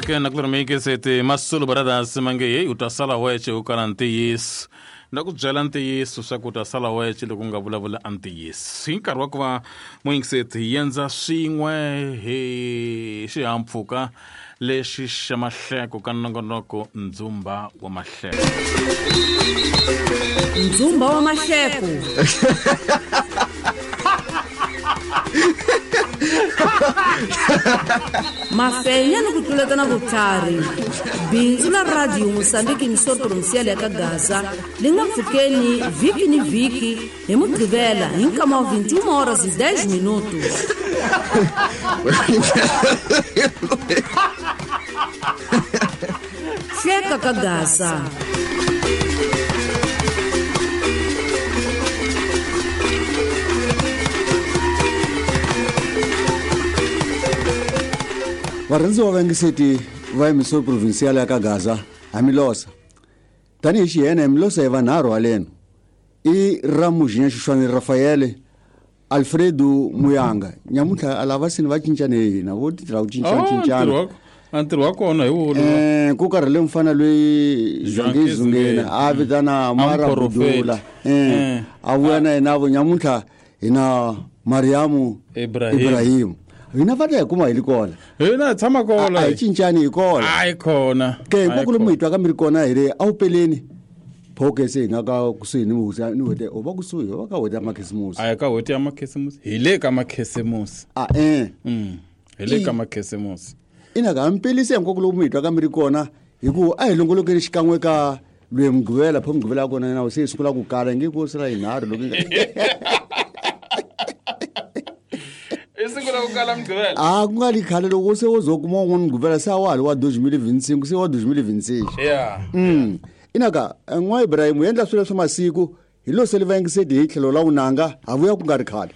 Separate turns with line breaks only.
African Akulomikiseti Masulu Brothers mange hey u ta sala wexe u kala ntiyiso na ku byela ntiyiso swa ku u ta sala wexe loko u nga vulavula a ntiyiso hi nkarhi wa ku va muyingiseti hi endza swin'we hi xihahampfhuka lexi xa mahleko ka nongonoko ndzumba wa mahleko.
Ndzumba wa mahleko. Mafenya ni ku tluletana vutlhari. Bindzu la Radio Mosambiki Emissor Provincial ya ka Gaza li nga pfukeni vhiki ni vhiki hi Mugqivela hi nkama wa 21 horas e 10 minutos. Hleka ka Gaza.
Varhandziwa va yingiseti va Emissor Provincial ya ka Gaza, ha mi losa. Tanihi xihene hi mi losa hi vanharhu haleno. I Ramujinya Xuxwani Rafaele, Alfredo Muyanga. Nyamuntlha a lava sini va cincane hi hina, vo tirha ku cinca
Oh,
cincana.
ntirho wa- a ntirho wa kona hi wolowo.
Ku karhele mufana loyi
Zwangi
Zwangi Zungeni, a vitana Mara
Muprofeti.
Budula. A vuya na yena vo nyamuntlha hi na Mariamu
Ibrahim.
Ibrahim. Hina va ta hi kuma hi li kona.
Hina hi tshama kona.
A hi cincani hi kona.
A hi kona.
Ke
A hi
hinkwako lomu
kona.
hi twaka mi ri kona hi le a wu peleni. Phoke se hi nga ka kusuhi ni hosi ni hwete o va kusuhi o va ka hwete ya makhisimusi.
A hi ka hwete ya makhisimusi. Hi le ka makhisimusi.
A eh.
Hi le ka makhisimusi.
Ina ka mi pelise hinkwako lomu hi twaka mi ri kona hi ku a hi longolokeni xikan'we ka lwe Mugqivela, pho Mugqivela ya kona na se yi sungula ku kala nge ku sala yinharhu loko yi nga
I sungula ku kala Mugqivela.
A ku nga li khale loko se wo zo kuma un'wana Mugqivela se a wa ha li wa 2025 se wa 2026. Ina ka n'wa Ibrahim u endla swilo swa masiku hi lo se li va yingiseti hi tlhelo la vunanga ha vuya ku nga ri khale.